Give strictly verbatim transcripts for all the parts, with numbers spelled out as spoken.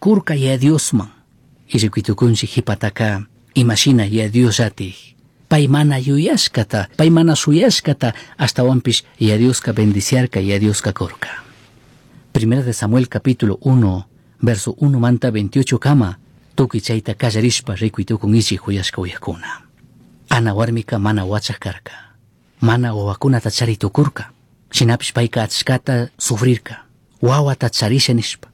Curca ya Diosman. Y rikuitukunchik hipataka imashina ya Diosllatik. Pay mana yuyashkata, pay mana shuyashkata, ashtawanpish ya Dioska bendiciarka, ya Dioska kurka. Primera de Samuel capítulo uno, verso uno manta veintiocho kama, tukuy chayta kallarishpa rikuytukunkichik huyashka uyakuna. Ana warmika mana wachaj karka, mana wawakunata chari tukurka, shinapish payka achkata sufrirka, wawata charisha nishpa.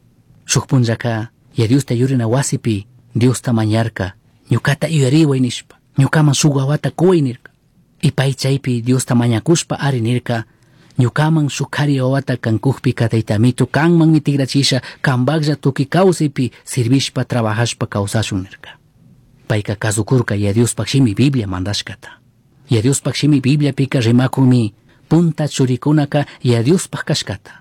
Shuk punllaka ya Diosta yurina wasipi Diosta mañarka, ñukata yuyariway nishpa, ñukaman shuk wawata kuway nirka. Y pay chaypi Diosta mañakushpa ari nirka, ñukaman shuk kari wawata kankukpika taytamito kanmanmi tigrachisha, kanpaklla tukuy kawsaypi sirvishpa trabajashpa kawsashun nirka. Payka kasukurka ya Diospaj shimi Biblia mandashkata. Ya Diospaj shimi Bibliapika rimakunmi punta churikunaka ya Diospaj kashkata.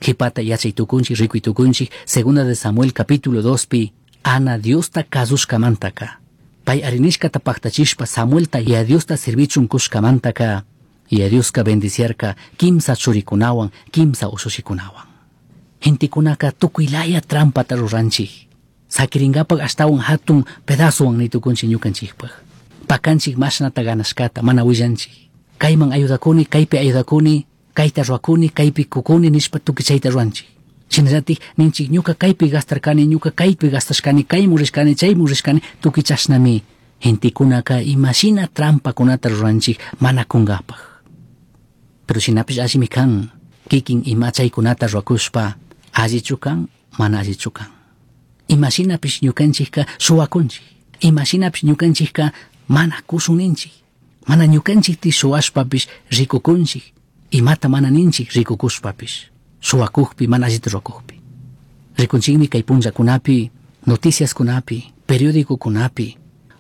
Jipata yachay tukunchik, rikuy tukunchik, segunda de Samuel capítulo dos pi, Ana Diosta kasushkamantaka. Pay arinishkata paktachishpa Samuelta ya Diosta sirvichun kushkamantaka, ya Dioska bendiciarka kimsa churikunawan, kimsa ushushikunawan. Gentekunaka tukuylaya trampata ruranchik. Sakiringapak ashtawan hatun pedazowan nitukunchik ñukanchikpak. Pakanchik mashnata ganashkata, mana willanchik. Kayman ayudakuni, kaypi ayudakuni, kayta ruakuni, kaypi kukuni nishpa tukuy chayta ruanchik. Shinallatik ninchik ñuka kaypi gastarkani, ñuka kaypi gastashkani, kaymu rishkani, chaymu rishkani, tukuy chashnami. Gentekunaka imashina trampakunata ruranchik mana kungapak. Pero shinapish allimi kan, kikin ima chaykunata ruakushpa, allichu kan, mana allichu kan. Imashinapish ñukanchikka suwakunchik, imashinapish ñukanchikka mana kushun ninchik, mana ñukanchikti suwashpapish rikukunchik, imata mana ninchik rikukushpapish, suwakukpi mana allita ruwakukpi. Rikunchikmi kay punllakunapi, noticiaskunapi, periódicokunapi,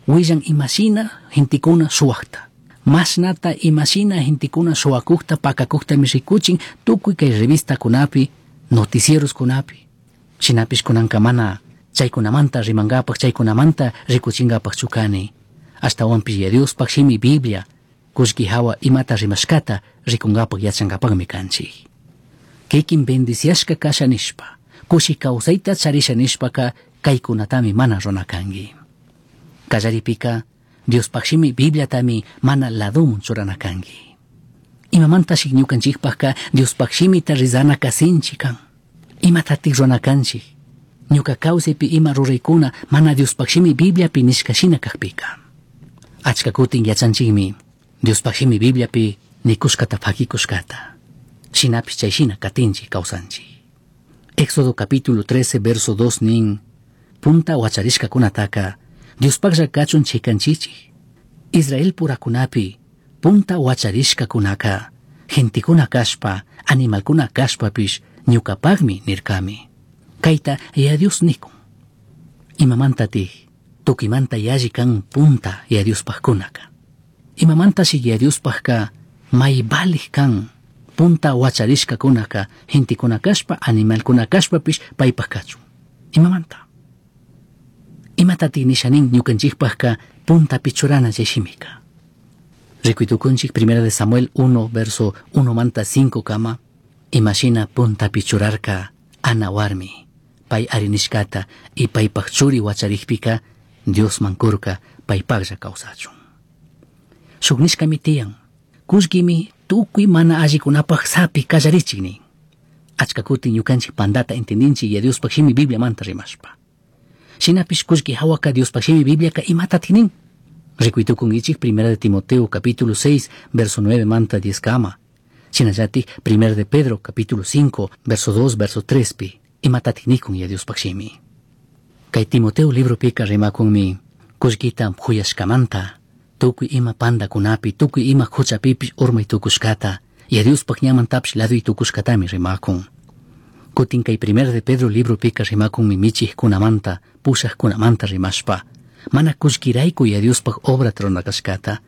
willan imashina gentekuna suwakta. Mashnata imashina gentekuna suwakukta, pakakuktami rikuchin tukuy kay revistakunapi, noticieroskunapi. Shinapish kunanka mana chaykunamanta rimangapak, chaykunamanta rikuchingapak chukani. Ashtawanpish ya Diospaj shimi Biblia, kullki hawa imata rimashkata rikungapak yachankapakmi kanchik. Kikin bendiciashka kasha nishpa, kushi kawsayta charisha nishpaka kaykunatami mana runa kanki. Kallaripika Diospaj shimi Bibliatami mana ladumun churana kanki. Imamantashi ñukanchikpajka Diospaj shimita rizanaka sinchi kan. Imatatik runa kanchik. Ñuka kawsaypi ima ruraykuna mana Diospaj shimi Bibliapi nishka shina kakpika. Achka kutin yachanchikmi Diospaj shimi Bibliapi nikushkata fakikushkata. Shinapish chay shina katinchik kawsanchik. Éxodo capítulo trece verso dos nin, punta wacharishkakunataka Diospajlla kachun chikanchichik. Israel purakunapi punta wacharishkakunaka gentekuna kashpa, animalkuna kashpapish ñukapakmi nirkami. Kayta ya Dios nikun. Imamantatik tukimanta yalli kan punta ya Diospajkunaka. Imamantashi ya Diospajka may valij kan punta wacharishkakunaka gentekuna kashpa, animalkuna kashpapish paypaj kachun. Imamanta. Imatatik nisha nin ñukanchikpajka puntapi churana chay shimika. Rikuytukunchik primera de Samuel uno verso uno manta cinco kama, imashina puntapi churarka Ana warmi, pay arinishkata y paypaj churi wacharikpika Diosman kurka paypajlla kawsachun. Shuk nishkami tiyan, kullkimi tukuy mana allikunapaj sapi kallarichik nin. Achka kutin ñukanchik pandata entendinchik ya Diospaj shimi Bibliamanta rimashpa. Shinapish kullki hawaka Diospaj shimi Bibliaka imatatik nin. Rikuytukunkichik primera de Timoteo capítulo seis verso nueve manta diez kama. Shinallatik primera de Pedro capítulo cinco verso dos verso tres pi imatatik nikun ya Diospaj shimi. Kay Timoteo libro pika rimakunmi kullkita huyashkamanta tukuy ima pandakunapi tukuy ima huchapipish urmay tukushkata ya Diospaj ñamantapish laduy tukushkatami rimakun. Kutin kay primera de Pedro libro pika rimakunmi michijkunamanta pushajkunamanta rimashpa mana kullkirayku ya Diospaj obrata runakashkata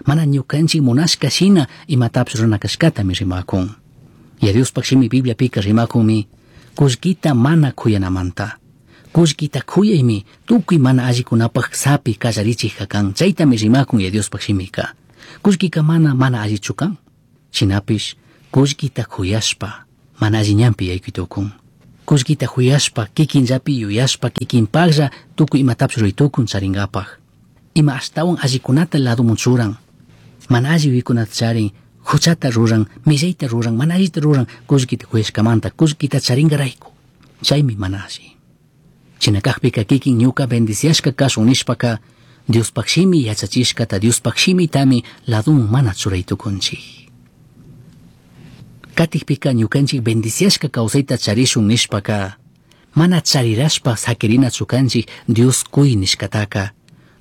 mana ñukanchik munashka shina imatapish runakashkatami rimakun. Ya Diospaj shimi Bibliapika rimakunmi kullkita mana kuyanamanta. Kullkita kuyaymi tukuy mana allikunapaj sapi kallarichijka kan, chaytami rimakun ya Diospaj shimika. Kullkika mana mana allichu kan. Shinapish kullkita kuyashpa mana alli ñanpi yaykuy tukun. Kullkita huyashpa, kikinllapi yuyashpa, kikinpaklla tukuy imatapish ruray tukun charinkapak. Ima ashtawan allikunata laduman churan. Mana alli yuyaykunata charin, huchata ruran, millayta ruran, mana allita ruran, kullkita huyashkamanta, kullkita charinkarayku. Chaymi mana alli. Shina kakpika kikin ñuka bendiciashka kashun nishpaka, Diospak shimi yachachishkata, Diospak shimitami laduman mana churay tukunchik. Katikpika ñukanchik bendiciashka kawsayta charishun nishpaka, mana charirashpa sakirinachu kanchik Dios kuy nishkataka,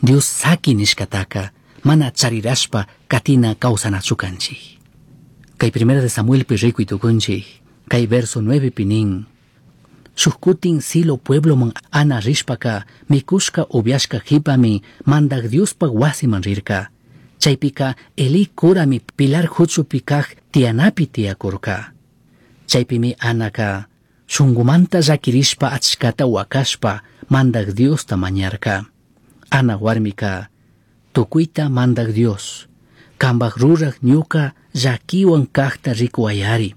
Dios saki nishkataka, mana charirashpa katina kawsanachu kanchik. Kay primera de Samuelpi rikuy tukunchik, kay verso nueve nin, Shuk kutin Silo puebloman Ana rishpaka, mikushka upiashka jipami mandak Diospak wasiman rirka. Chaypika Eli kurami pilar huchupi kaj tiyanapi tiyakurka. Chaypimi Anaka shungumanta llakirishpa achkata wakashpa mandak Diosta mañarka. Ana warmika tukuyta mandak Dios, kambaj ruraj ñuka llakiwan kajta rikuwayari,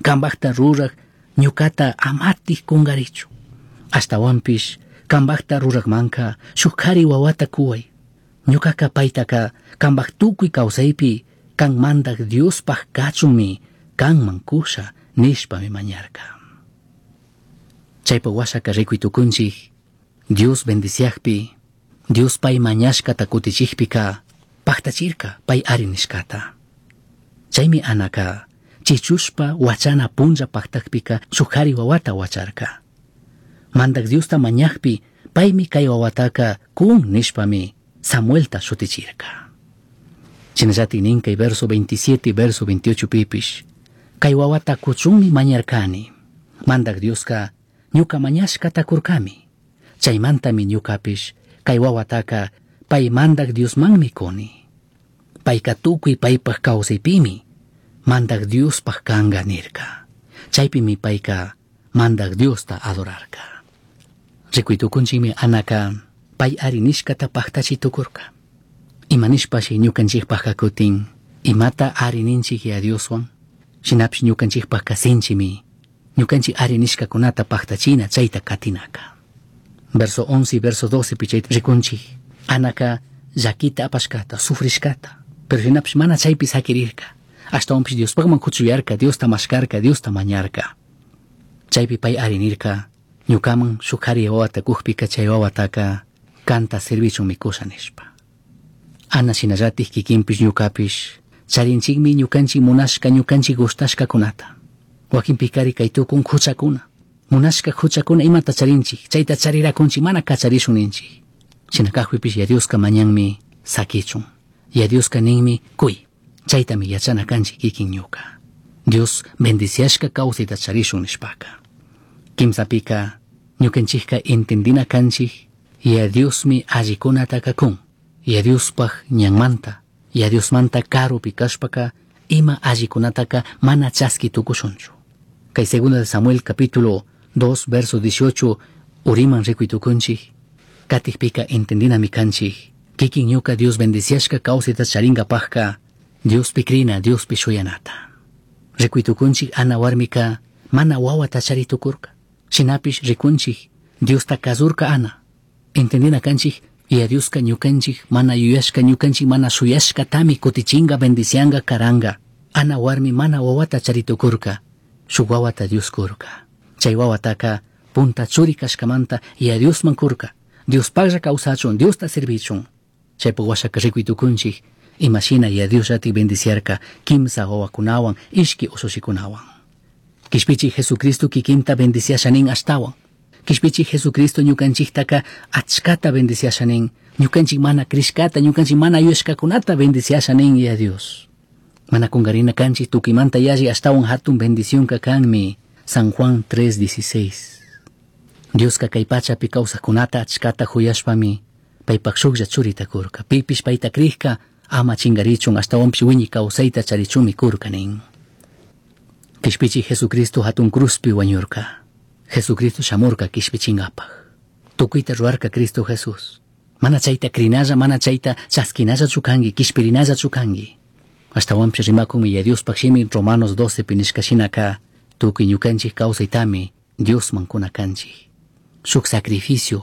kambajta ruraj ñukata amatik kungarichu. Ashtawanpish kambajta rurajmanka shuk kari wawata kuway. Ñukaka paytaka kambaj tukuy kawsaypi kan mandak Diospaj kachunmi kanman kusha nishpami mañarka. Chaypa washaka rikuy tukunchik, Dios bendiciakpi, Dios pay mañashkata kutichikpika paktachirka pay ari nishkata. Chaymi Anaka chichushpa wachana punlla paktakpika shuk kari wawata wacharka. Mandak Diosta mañakpi paymi kay wawataka kun nishpami Samuelta shutichirka. Shinallatik nin kay verso veintisiete verso veintiocho pipish, kay wawata kuchunmi mañarkani. Mandak Dioska ñuka mañashkata kurkami. Chaymantami ñukapish kay wawataka pay mandak Diosmanmi kuni. Payka tukuy paypaj kawsaypimi mandak Diospaj kanka nirka. Chaypimi payka mandak Diosta adorarka. Rikuy tukunchikmi Anaka pay ari nishkata paktachi tukurka. Ima nishpashi ñukanchikpajka kutin imata ari ninchik ya Dioswan, shinapish ñukanchikpajka sinchimi ñukanchik ari nishkakunata paktachina chayta katinaka. Verso once y verso doce pi chayta rikunchik Anaka llakita apashkata, sufrishkata, pero shinapish mana chaypi sakirirka. Ashtawanpish Diospakman kuchuyarka, Diosta mashkarka, Diosta mañarka. Chaypi pay ari nirka, ñukaman shuk kari wawata kukpika chay wawataka kanta servichunmi kusha nishpa. Ana shinallatik kikinpish ñukapish charinchikmi ñukanchik munashka, ñukanchik gustashkakunata. Wakinpikari kay tukun huchakuna. Munashka huchakuna imata charinchik, chayta charirakunchik mana kacharishun ninchik. Shina kakpipish ya Dioska mañanmi sakichun. Ya Dioska ninmi kuy. Chaytami yachana kanchik kikin ñuka. Dios bendiciashka kawsayta charishun nishpaka. Kimsapika ñukanchikka entendina kanchik ya Diosmi allikunataka kun. Ya Diospaj ñanmanta, ya Diosmanta karupi kashpaka ima allikunataka mana chaski tukushunchu. Kay segunda de Samuel capítulo dos verso dieciocho uriman rikuy tukunchik. Katikpika entendinami kanchik. Kikin ñuka Dios bendiciashka kawsayta charinkapajka Diospi krina, Diospi shuyanata. Rikuy tukunchik Ana warmika mana wawata chari tukurka. Shinapish rikunchik Diosta kazurka Ana. Entendina kanchik ya Dioska ñukanchik mana yuyashka, ñukanchik mana shuyashkatami kutichinga, bendicianga, karanga. Ana warmi mana wawata chari tukurka. Shuk wawata Dios kurka. Chay wawataka punta churi kashkamanta ya Diosman kurka. Diospaklla kawsachun, Diosta servichun. Chaypa washaka rikuy tukunchik imashina ya Dios llati bendiciarka kimsa wawakunawan, ishki usushikunawan. Kishpichi Jesucristo kikinta bendiciashanin ashtawan. Kishpichi Jesucristo ñukanchiktaka achkata bendiciashanin. Ñukanchik mana krishkata, ñukanchik mana yuyashkakunata bendiciashanin ya Dios. Mana kungarina kanchik tukimanta yalli ashtawan hatun bendicionka kanmi. San Juan tres dieciséis. Dioska kay pachapi kawsajkunata achkata huyashpami paypak shuklla churita kurka. Pipish payta krishka ama chingarichun ashtawanpish wiñi kawsayta charichunmi kurka nin. Kishpichi Jesucristo hatun cruzpi wañurka. Jesucristo shamurka kishpichinkapaj. Tukuyta ruwarka Cristo Jesús. Mana chayta krinalla, mana chayta chaskinallachu kanki, kishpirinallachu kanki. Ashtawanpish rimakunmi ya Diospaj shimi Romanos doce pi nishka shinaka tukuy ñukanchik kawsaytami Diosman cuna canchij. Shuk sacrificio